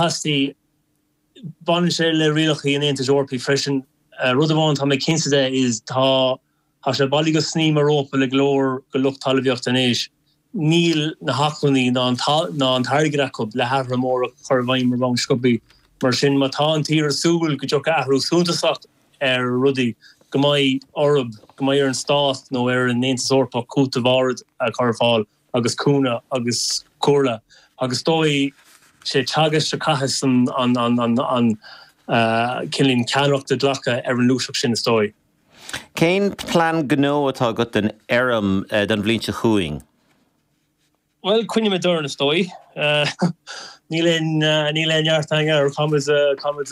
an-chastaí. Baineann sé le rialacha an Aontais Eorpaigh freisin. Rud amháin tá mé cinnte de is tá tá sé bailí go sní mar rópa le go leor de lucht talmhaíochta anois. Níl na hacmhainní ná an ná an t-airgead acu le hathruithe móra a chur i bhfeidhm ar bhonn sciobthaí. Mar sin má tá an tír ag súil go dtiocfaidh athrú suntasach ar rudaí, go mbeidh orthu, go mbeidh ar an stát nó ar an Aontas Eorpach cúiteamh áirid a chur ar fáil agus cúnamh agus comhairle agus is dóigh sé Teagasc a chaithfeas an an cineál ceannaireacht a ghlacadh ar an ngluaiseacht sin is dóigh. Cén plean gnó atá agat don fheirm don bhliain seo chugainn? Bhuel, coinneoimid orainn, is dóigh. Níl aon, níl aon neart againn air. Caithfimid, caithfimid,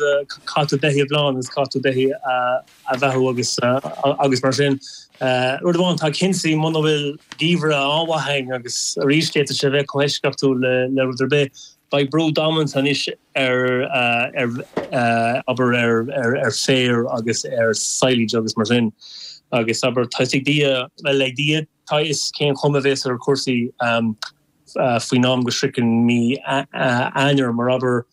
caithfidh tú beithígh a bhleán agus caithfidh tú beithígh a bheathú agus, agus mar sin. Rud amháin atá cinnte, muna bhfuil geimhreadh an-mhaith againn agus arís d'fhéadfadh sé a bheith chomh heisceachtúil le, le rud ar bith, beidh brú damanta anois ar, ar, abair, ar, ar, ar féar agus ar silage agus mar sin. Agus abair, tá fhios ag Dia, bhuel, ag Dia, Tá a fhios cén chuma a bhéas ar chúrsaí faoin am go sroicheann mí Eanáir, mar abair,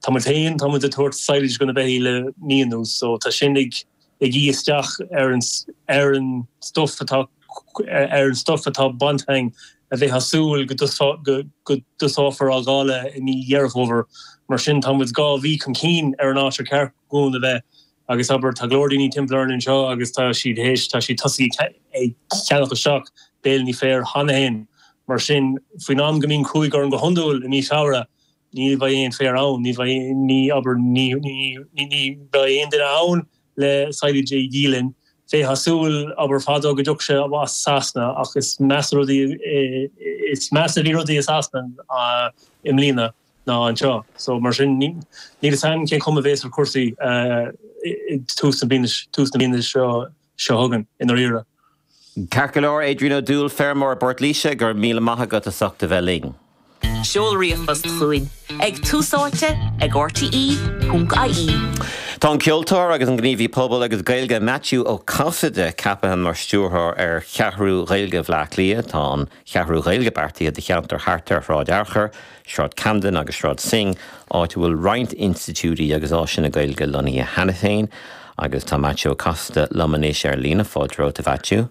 tá muid féin, tá muid ag tabhairt silage do na beithígh le mí anuas, so tá sin ag ag ithe isteach ar an ar an stuif atá ar an stuif atá bainte againn a bheifeá ag súil go go dtosófar á dháileadh i mí Dheireadh Fómhair. Mar sin tá muid 2 mhí chun cinn ar an áit ar cheart dhúinn a bheith. Agus abair, tá go leor daoine timpeall orainn anseo agus tá siad théis, tá siad tosaithe ag ceannach isteach béilíní féir cheana féin. Mar sin, faoin am go mbíonn cruaidh orainn go hiondúil i mí Feabhra, ní bheidh aon féar ann, ní bheidh, ní, abair, ní, ní, ní bheidh aon duine ann le silage a dhíol linn. Bheifeá ag súil, abair, fadó go dtiocfadh sé as Sasana ach is measa rudaí, is measa a bhí rudaí i Sasana i mbliana. ná anseo. So mar sin níl fhios a'm cén chuma a bhéas ar chúrsaí i tús na bliana tús na bliana seo seo chugainn i ndáiríre. Ceart go leor, Adrian Ó Dúill, feirmeoir i bPort Laoise, go raibh míle maith agat as ucht a bheith linn. Seol ríomhphost chugainn ag túsáite ag rte.ie. Tá an ceoltóir agus an gníomhaí pobail agus Gaeilge Maitiú Ó Casaide ceaptha mar stiúrthóir ar Cheathrú Ghaeilge Bhaile Átha Cliath. Tá an Cheathrú Ghaeilge beartaithe do cheantar thart ar Shráid Fhearchair, Sráid Camden agus Sráid Synge, áit a bhfuil roinnt institiúidí agus áiseanna Gaeilge lonnaithe cheana féin. Agus tá Maitiú Ó Casaide liom anois ar líne. Fáilte romhat, a Mhaitiú.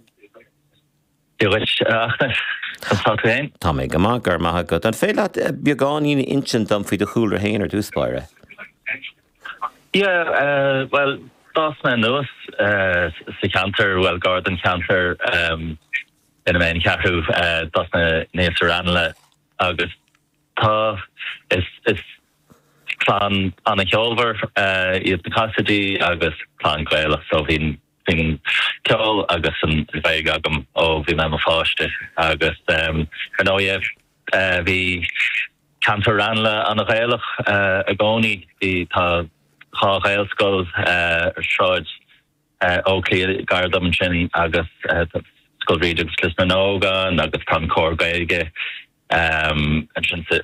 Dia dhuit, a Fhachtna. Conas tá tú féin? Tá mé go maith, go raibh maith agat. An féidir leat beagáinín a insint dom faoi do chúlra féin ar dtús báire? Yeah, bhuel, d'fhás mé anuas sa cheantar, bhuel, gar don cheantar ina mbeidh an cheathrú, d'fhás mé aníos i Raghnallach. Agus tá, is, is clann an-cheolmhar iad na Casaidí agus clann Gaelach so bhí an, bhí an ceol agus an Ghaeilge agam ó bhí mé i mo pháiste agus ar ndóigh bhí ceantar Raghnallach an-Ghaelach i gcónaí. Bhí, tá dhá Ghaelscoil ar Shráid Oakley gar dom ansin agus Scoil Bhríde agus Lios na nÓg ann agus tá an Comhar Gaeilge ansin sa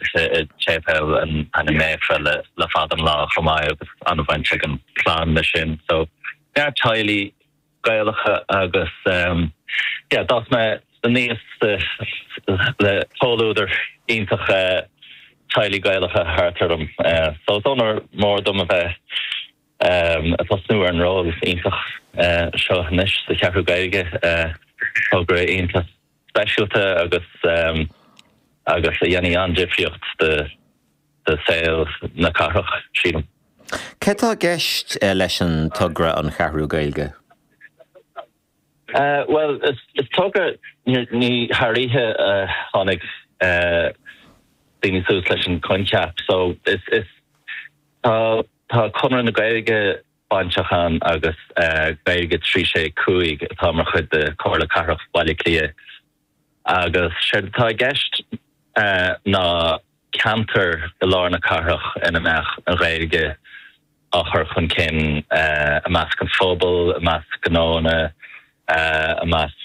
tséipéal an Ainm Naofa le fada an lá chomh maith agus an-bhaint ag an chlann leis sin. So neart teaghlaigh Gaelacha agus yeah d'fhás mé aníos le comhluadar iontach teaghlaigh Gaelacha thart orm. So is onóir mór dom a bheith ag tosnú ar an ról iontach seo anois sa Cheathrú Gaeilge, togra iontach speisialta agus agus a dhéanfaidh an-difríocht do saol na cathrach, sílim. Céard atá i gceist leis an togra An Cheathrú Gaeilge? Bhuel, is togra, ní thar oíche a tháinig daoine suas leis an choincheap so is tá Tá Conradh na Gaeilge bainteach ann agus Gaeilge 3 6 5 atá mar chuid de Chomhairle Cathrach Bhaile Átha Cliath agus séard atá i gceist ná ceantar i lár na cathrach ina mbeadh an Ghaeilge á chur chun cinn i measc an phobail, i measc gnóanna, i measc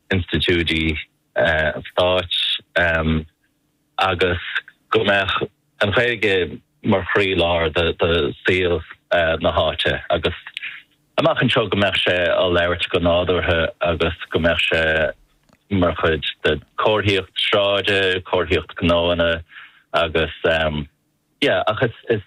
institiúidí an stáit agus go mbeadh an Ghaeilge mar chroílár de saol na háite agus amach anseo go mbeadh sé á labhairt go nádúrtha agus go mbeadh sé mar chuid de chomharthaíocht sráide, comharthaíocht gnóanna agus yeah ach is.